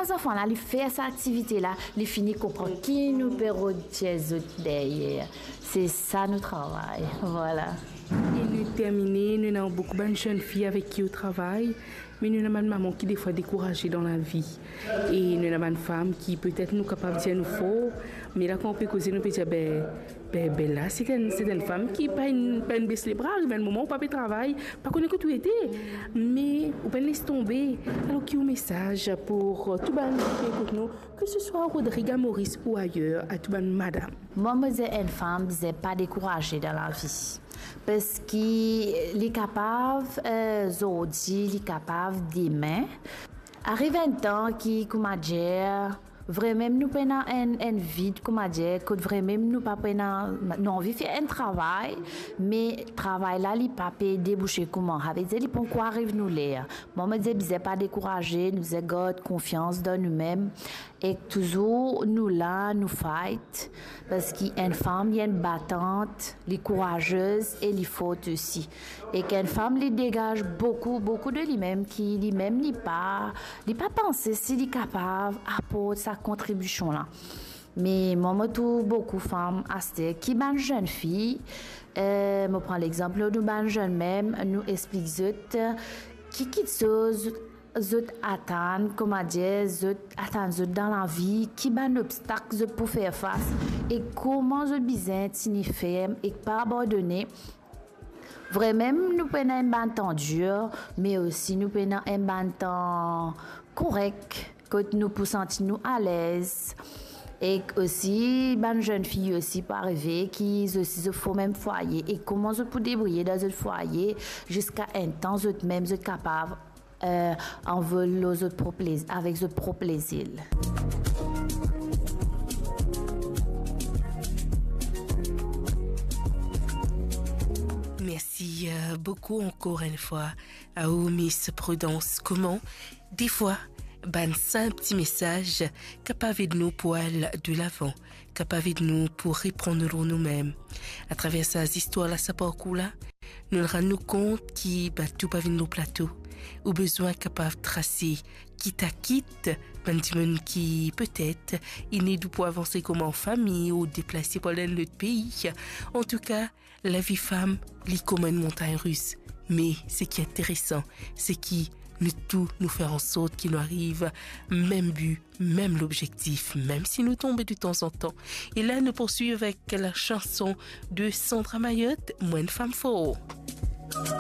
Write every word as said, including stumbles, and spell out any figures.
Zanfan la, li fer sa aktivite la, li fini konpran ki nou pe rod tir zot deryer. Se sa nou travay, vwala. E nou termine, nou ena boukou bann zennfi avek ki ou travay, me nou ena bann mama ki defwa dekouraze dan lavi. E nou ena bann fam ki petet nou kapav dir nou for, me la kan ou pe koze, nou pe dir, be, be, be la, se enn, se enn fam ki pa inn, pa inn bes lebra, ariv enn moman ou pa pe travay, pa kone kot ou ete, me ou pa inn les tonbe. Alor, ki ou mesaz pou, euh, tou bann ki pe ekout nou, ke se swa Rodrig, a Moris ou ayer, a tou bann madam? Mwa, mo dir enn fam bizin pa dekouraze dan lavi, parski li kapav, euh, zordi, li kapav demin. Ariv enn tan ki, kouma dir, vremem nou pena enn, enn vid, kouma dir, kot vremem nou pa pena, nou anvi fer enn travay, me travay la, li pa pe debouse kouma, savedir li pankor ariv nou ler. Mwa, mo dir bizin pa dekouraze, nou bizin gard konfians dan noumem, ek touzour nou la, nou fight, parski enn fam, li enn batant, li kourazez e li fort osi. Ek enn fam, li degaz boukou, boukou de limem, ki limem, li pa, li pa panse si li kapav aport sa kontribision la. Me mwa, mo trouv boukou fam aster, ki bann zennfi, eh, mo pran lexanp nou bann zenn mem, nou explik zot, eh, ki kiksoz zot atann, kouma dir, zot atann zot dan lavi, ki bann obstak zot pou fer fas, e kouma zot bizin tini ferm e pa abandone. Vremem, nou pena enn bann tan dir, me osi nou pena enn bann tan korek, kot nou pou santi nou alez. Ek osi, bann zennfi osi pou arive ki zot osi zot fo mem fwaye, e kouma zot pou debriye dan zot fwaye, ziska enn tan zot mem zot kapav, eh, anvol lor zot prop lez-, avek zot prop lezil. Mersi, eh, boukou ankor enn fwa a ou, Miss Prudence. Kouma, defwa, bann sinp ti mesaz kapav ed nou pou al delavan, kapav ed nou pou repran nou lor noumem. Atraver sa zistwar la, sa parkour la, nou rann nou kont ki bato pa vinn lor plato. Ou bizin kapav trase, kit a kit, bann dimoun ki petet inn ed ou pou avanse kouma fami ou deplase pou al dan enn lot pei. Antouka, lavi fam, li kouma enn montagn ris. Me seki interesan, seki nou tou, nou fer ansort ki nou ariv mem bi, mem lobzektif, mem si nou tonbe detanzantan. E la, nou pourswiv avek la sanson de Sandra Mayotte, Mo enn fam for.